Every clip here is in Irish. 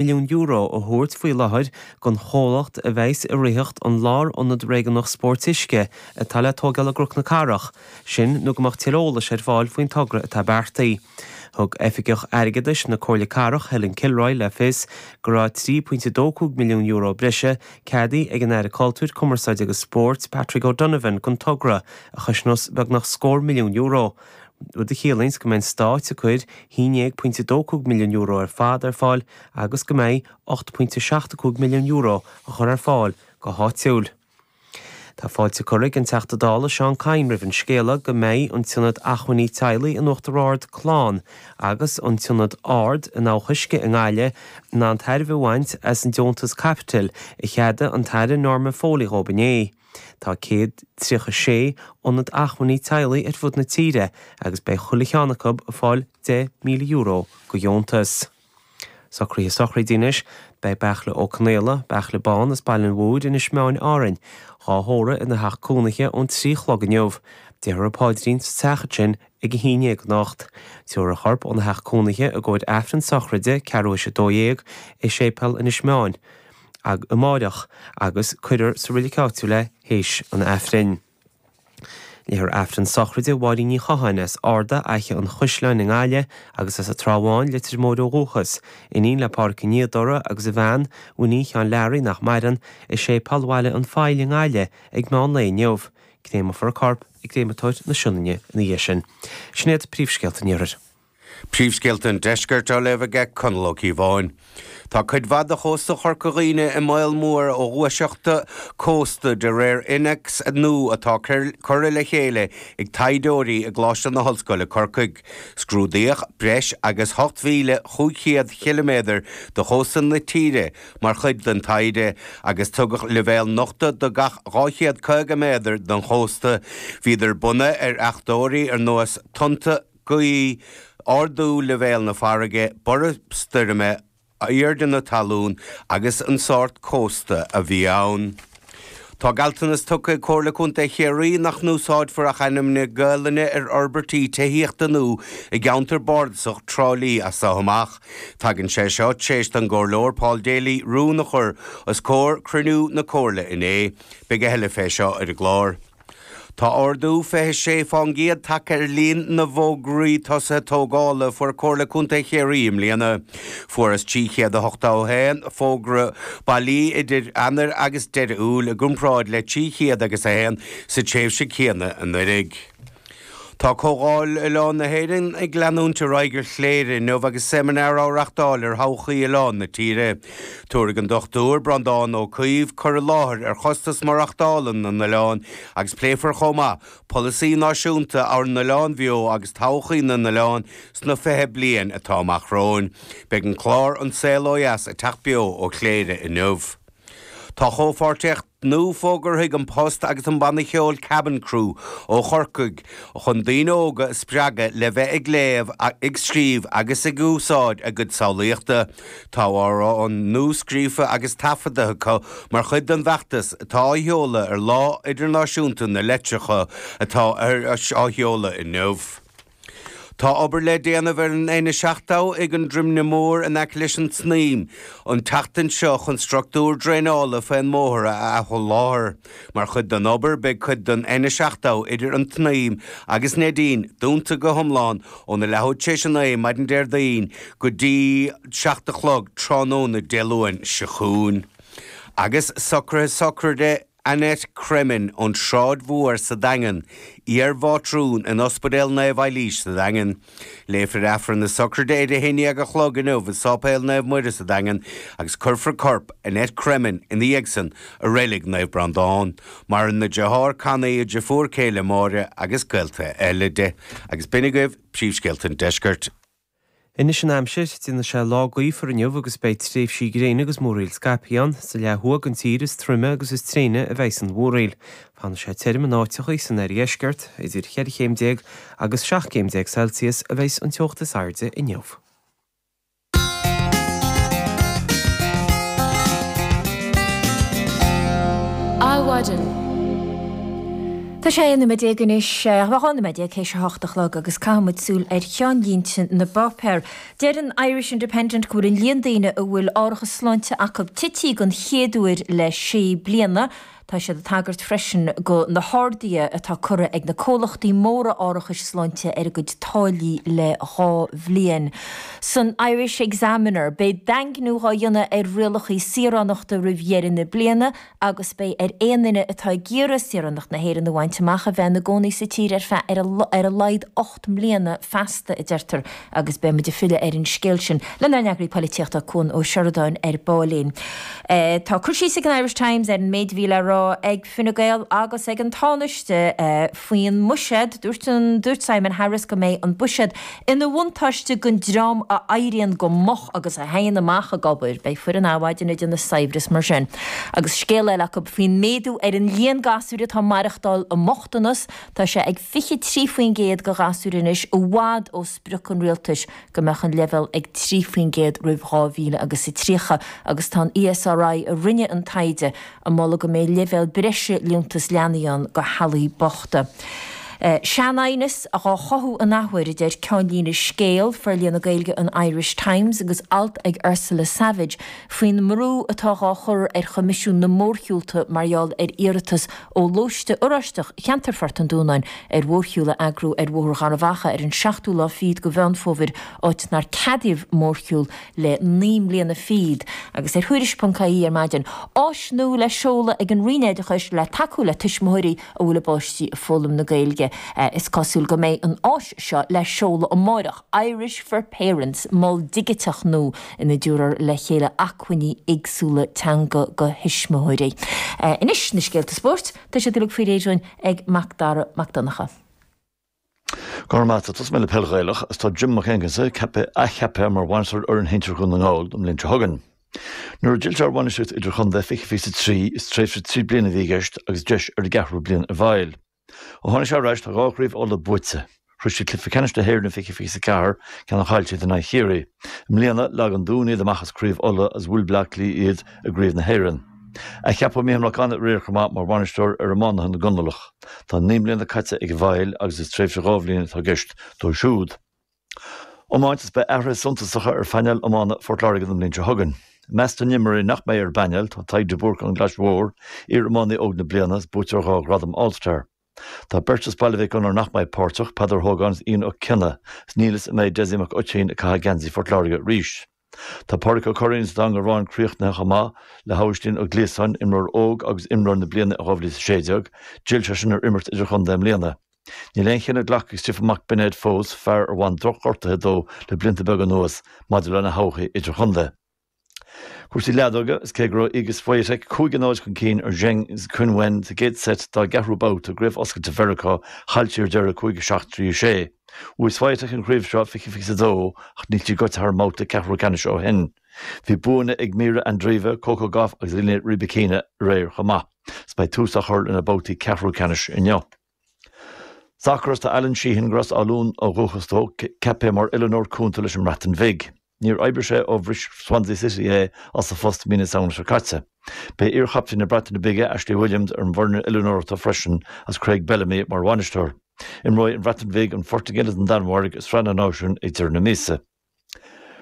Milliún a thabhairt faoi láthair don chomhlacht a bheas ag ritheacht an Lárionad Réigiúnach Spóirt Uisce atá le tóigeáil i gCnoc na Cathrach, sin nó go mbeadh tuilleadh eolais ar fáil faoin togra atá beartaithe. Thug Oifigeach Airgeadais na Comhairle Cathrach, Helen Kilroy, le fios go raibh €3.25 milliún breise ceadaithe ag an Aire Cultúir, Cumarsáide agus Spóirt, Patrick O'Donovan don togra, a chosnós beagnach scór milliún euro. rud a chiallaíonns go mbeidh an Stát ag cur €11.25 milliún ar fad ar fáil agus go mbeidh €8.75 milliún á chur ar fáil go háitiúil. Tá fáilte curtha ag an Teachta Dála Seán Kyne roimh an scéala go mbeidh an tIonad Acmhainní Teaghlaigh in Uachtar Ard, Clann, agus an tIonad Ard in Abhac Uisce i nGaillimh in ann tairbhe a bhaint as an deontas caipitil a cheadaigh an tAire Norma Foley dhóibh inné. Tá 136 Ionad Acmhainní Teaghlaigh ar fud na tíre agus beidh chuile cheann acu ag fáil €10,000 de dheontas. Socruithe sochraide anois, beidh Beartla Ó Conaola, Beartla Bán as Baile an Mhúir, Inis Meáin, Árainn, dhá thórramh ina theach cónaithe ón 3 chlog inniu. Déarfar an paidrín sa teach ansin ag a haon dhéag anocht. Tabharfar a chorp óna theach cónaithe i gcomhair Aifreann sochraide ceathrú théis a 12 i Séipéal Inis Meáin. amáireach agus cuirfear sa reilig áitiúil é théis an Aifrinn. Léifear Aifreann sochraide Mháirín Ní Chatháin as Ardagh, Fhaiche an Chaisleáin i nGaillimh agus as an Trá Bháin, Leitir Móir ó dhúchas, iníon le Pádhraic Ó Niadh agus a bhean, Winnie Sheáin Learaí nach maireann, i Séipéal Bhaile an Phoill i nGaillimh ag meán lae inniu. Créamfar a corp i gCréamatóir na Sionainne ina dhiaidh sin. Sin iad príomhscéalta an Iarthair. Príomhscéalta an Deiscirt á léamh aige Conall Ó Cíobháin. Tá cuid mhaith de chósta Chorca Dhuibhne i mbaol mór ó ghluaiseachta cósta de réir innéacs nua atá curtha le chéile ag taighdeoirí i gColáiste na hOllscoile Corcaigh. Scrúdaíodh breis agus 8,500 chiliméadar de chósta na tíre mar chuid den taighde agus tugadh leibhéal nochta do gach 250 méadar den chósta. Bhíodar bunaithe ar fhachtóirí ar nós tonnta, gaoth, ardú leibhéal na farraige, borradh stoirme, airde na talún agus an sórt cósta a bhí ann. Tá gealltanas tugtha ag Comhairle Contae Chiarraí nach n-úsáidfear ach ainmneacha Gaelainne ar fhorbairtí tithíochta nua i gceantar bardasach Trá Lí as seo amach. Tagann sé seo tar éis don gComhairleoir Paul Daly rún a chur os comhair cruinniú na Comhairle inné. Beidh a thuilleadh fé seo ar an gclár. Tá ardú 26 fán gcéad tagtha ar líon na bhfógraí tosaithe tógála a fuair Comhairle Contae Chiarraí i mbliana. Fuarthas 381 fógra bailí idir Eanáir agus Deireadh Iúil i gcomparáid le 300 agus 1 sa tréimhse céanna anuraidh. Tá Comhdháil Oileán na hÉireann ag leanúint ar aghaidh ar Chléire inniu agus seimineár á reachtáil ar thodhchaí oileáin na tíre. Tabharfaidh an Dr Breandán Ó Caoimh cur i láthair ar chostas maireachtála na n-oileán agus pléifear chomh maith polasaí náisiúnta ár n-oileán bheo agus todhchaí na n-oileán sna 20 bliain atá amach romhainn. Beidh an clár An Saol Ó Dheas ag teacht beo ó Chléire inniu. Tá comhpháirtíocht nua fógartha ag An Post agus an banna ceoil Cabin Crew ó Chorcaigh chun daoine óga a spreagadh le bheith ag léamh, ag scríobh agus ag úsáid a gcuid samhlaíochta. Tá amhrán nua scríofa agus taifeadta acu mar chuid den bhfeachtas atá á sheoladh ar Lá Idirnáisiúnta na Litreacha atá á sheoladh inniu. Tá obair le déanamh ar an N70 ag an Droimne Mór in aice leis an tSnaidhm an tseachtain seo chun structúr draenála faoin mbóthar a athsholáthar. Mar chuid den obair beidh cuid den N70 idir an tSnaidhm agus Neidín dúnta go hiomlán óna leathuair tar éis a 9 maidin Déardaoin go dtí 7 a chlog tráthnóna Dé Luain seo chugainn. Agus socruithe sochraide Annette Cremin ón tSráid Mhór sa Daingean, iar-mhátrún in Ospidéal Naomh Eilís sa Daingean. Léifear Aifreann na sochraide ar a haon dhéag a chlog inniu i Sáipéal Naomh Muire sa Daingean agus cuirfear corp Annette Cremin ina dhiaidh san i Reilig Naomh Breandán. Maireann a deartháir Connie, a deirfiúr céile Máire agus gaolta eile di. Agus b'in agaibh príomhscéalta an deiscirt. Anois an aimsir, déanfaidh sé lá gaofar inniu agus beidh tréimhsí gréine agus múraíl scaipthe ann. Sa leath thuaidh den tír is troime agus is tréine a bheidhs an mhúraíl. Fanfaidh sé tirim in áiteachaí san oirdheisceart. Idir cheithre chéim déag agus 17 gcéim Celsius a bheidhs an teocht is airde inniu. Adhmhaidin. Tá sé 11 nóiméad anois, 12 nóiméad théis a hocht a chlog agus caithfidh muid súil ar cheannlínte na bpáipéar. Deir an Irish Independent go bhfuil an líon daoine a bhfuil árachas sláinte acu tití den chéad uair le sé bliana. Tá siad ag tagairt freisin go na harduithe atá curtha ag na comhlachtaí móra árachais sláinte ar a gcuid táillí le 2 bhliain. San Irish Examiner, beidh daingniú dhá dhéanamh ar rialacha saoránachta roimh dheireadh na bliana agus beidh ar aon duine atá ag iarraidh saoránacht na hÉireann a bhaint amach a bheith ina gcónaí sa tír ar feadh ar a laghad 8 mbliana feasta, a deirtear, agus beidh muid ag filleadh ar an scéal sin lenár n-eagraí polaitíochta Cuan Ó Seireadáin ar baillín. Tá cur síos ag an Irish Times ar an méid a bhí le rá ag Fine Gael agus ag an Tánaiste faoin mbuiséad. Dúirt an Dúirt Simon Harris go mbeidh an buiséad ina bhuntáiste don dream a éiríonn go moch agus a théann amach ag obair. Beidh foireann Adhmhaidin ag déanamh saibhreas mar sin. Agus scéal eile acu faoin méadú ar an líon gasúir atá ag maireachtáil i mbochtanas. Tá sé ag 23% de ghasúir anois, i bhfad ó sprioc an rialtais go mbeadh an leibhéal ag 3% roimh 2000 agus a 30 agus tá an ESRI a rinne an taighde ag moladh go mbeidh leibhéal breise liúntas leanaí ann do theaghlaigh bochta. Sean-aighneas dhá chothú an athuair, a deir ceannlíne scéil Forlíonadh Gaeilge an Irish Times agus alt ag Ursula Savage faoin mbrú atá dhá chur ar Choimisiún na Mórshiúlta mar gheall ar iarratas ó Lóiste Oráisteach Cheantar Phort an Dúnáin ar mhórshiúl a eagrú ar Bhóthar Gharbh Achaidh ar an seachtú lá fichead de Mheán Fómhair, áit nár ceadaíodh mórshiúl le 9 mbliana fichead. Agus ar Thuairisc.ie ar maidin, áis nua le seoladh ag an Roinn Oideachais le tacú le tuismitheoirí a bhfuil a bpáistí ag foghlaim na Gaeilge. Is cosúil go mbeidh an áis seo le seoladh amáireach, Irish for Parents, mol digiteach nua ina dtabharfar le chéile acmhainní éagsúla teanga do thuismitheoirí. Anois, na scéalta spóirt, tá siad uilig faoi réir dúinn ag Mac Dara Mac Donncha. Go raibh maith agat. Tosóidh mé le peil Ghaelach agus tá Jim McAngus ceaptha, athcheaptha mar bhainisteoir fhoireann shinsir Dhún na nGall don mbliain seo chugainn. Nuair a d'fhill sé ar bhainistíocht idirchontae 2023, is tréimhse 3 bliana a bhí i gceist agus deis ar an gceathrú bliain i bhfeighil. Ó tháinig sé ar ais tá 2 chraobh Uladh buaite. Shroich siad cluiche ceannais na hÉireann i 2024, ceann a chaill siad in aghaidh Chiarraí. I mbliana, leag an Dún iad amach as Craobh Uladh agus bhuail Bleá Cliath iad i gCraobh na hÉireann. Athcheapadh Mícheál Mac Annaidh aréir chomh maith mar bhainisteoir ar iománaithe na gConallach. Tá 9 mbliana caite ag an bhFaill agus is tréimhse 2 bhliain atá i gceist dó siúd. Iomáint Is beidh athruithe suntasacha ar phainéal iomána Phort Láirge don bhliain seo chugainn. I measc na n-imreoirí nach mbeidh ar an bpainéal tá Tadhg de Búrca ón gClais Mhór, iar-iománaí óg na bliana is buaiteoir 2 ghradam All-Star. Tá beirt as Baile Mhic Gonair nach mbeidh páirteach, Peadar Ó hÓgáin is Ian Ó Cionnaith, is níl fhios an mbeidh Dessie Mac Oitín ag caitheamh geansaí Phort Láirge arís. Tá Pádraic Ó Curraoin sa Dangarváin críochnaithe chomh maith le hAibhistín Ó Gliasáin, imreoir óg agus imreoir na bliana in 2016, d'fhill seisean ar imirt idirchontae i mbliana. Níl aon chinneadh glactha ag Stiofán Mac Beinéid fós, fear ar bhain drochghortuithe dó le blianta beaga anuas, maidir lena thodhchaí idirchontae. Cúrsaí leadóige, Is cé go raibh Iga Swiatek 5-0 chun cinn ar Zheng Qinwen sa gcéad seit dá gceathrú babhta i gCraobh Oscailte Mheiriceá, chaill sí ar deireadh 5-7, 3-6. Bhuaigh Swiatek an chraobh seo 2022 ach níl sí gaibhte thar an mbabhta ceathrú ceannais ó shin. Bhí buanna ag Mirra Andreeva, Coco Gauff agus Elena Rybakina aréir chomh maith. Is beidh tús á chur lena babhtaí ceathrú ceannais inniu. Sacar Is tá Alan Sheehan, gur as Áth Luain ó dhúchas dó, ceaptha mar oiliúnóir cúnta leis an mBreatain Bhig. Níor oibrigh sé ó bhris Swansea City é as a phost mí na Samhna seo caite. Beidh iarchaptaen na Breataine Bige, Ashley Williams, ar an bhfoireann oiliúnóireachta freisin agus Craig Bellamy mar bhainisteoir. Imreoidh an Bhreatain Bhig an Phortaingéil agus an Danmhairg i Sraith na Náisiún ag deireadh na míosa.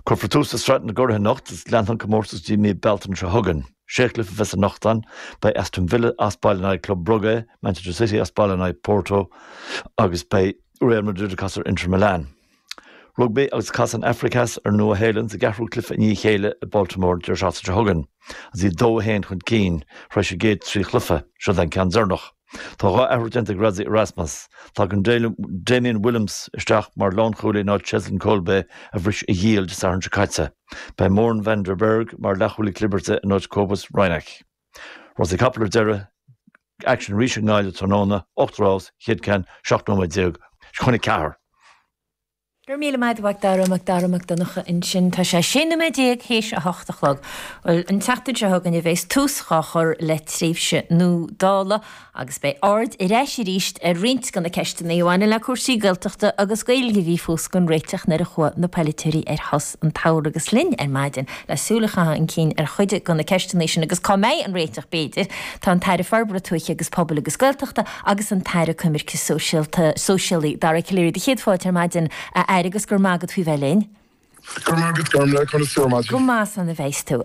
Cuirfear tús le Sraith na gCuradh anocht agus leanfaidh an comórtas go dtí mí Bealtaine seo chugainn. Sé chluiche a bheas anocht ann. Beidh Aston Villa as baile in aghaidh Club Brugge, Manchester City as baile in aghaidh Porto agus beidh Real Madrid ag casadh ar Inter Milan. Rugbaí agus casfaidh an Afraic Theas ar an Nua-Shéalainn sa gceathrú cluiche i ndiaidh a chéile i Baltimore an deireadh seachtaine seo chugainn agus iad 2-1 chun cinn tar éis an gcéad 3 chluiche. Seo é an ceann deireanach. Tá 2 athrú déanta ag Rassie Erasmus. Tagann Damian Willemse isteach mar lánchúlaí in áit Cheslin Kolbe a bhris a ghiall Dé Sathairn seo caite. Beidh Morne van der Berg mar leathchúlaí clibirte in áit Cobus Reinach. Rásaí capall ar deireadh, aicsean arís i nGaillimh tráthnóna, 8 rás, chéad ceann 17 nóiméad chun a ceathair. Go raibh míle maith agat a Mhac Dara, Mac Dara Mac Donncha ansin. Tá sé 16 nóiméad théis a hocht a chlog. Bhuel, an tseachtain seo chugainn a bheas tús dhá chur le tréimhse nua Dála agus beidh aird ar ais arís ar roinnt de na ceisteanna a bhaineann le cúrsaí Gaeltachta agus Gaeilge a bhí fós gan réiteach nuair a chuaigh na polaiteoirí ar shos an tsamhraidh agus linn ar maidin le súil a chaitheamh chun cinn ar chuid de na ceisteanna sin agus cá mbeidh an réiteach b'fhéidir, tá an tAire Forbartha Tuaithe agus Pobail agus Gaeltachta agus an tAire Coimirce Sóisialta, Sóisialaí, Dara Calleary, do chéad fáilte ar maidin, a Aire, agus go raibh maith agat faoi bheith linn. Go raibh maith agat, Gormlaith, conas tú ar maidin? Go maith san a bheas tú.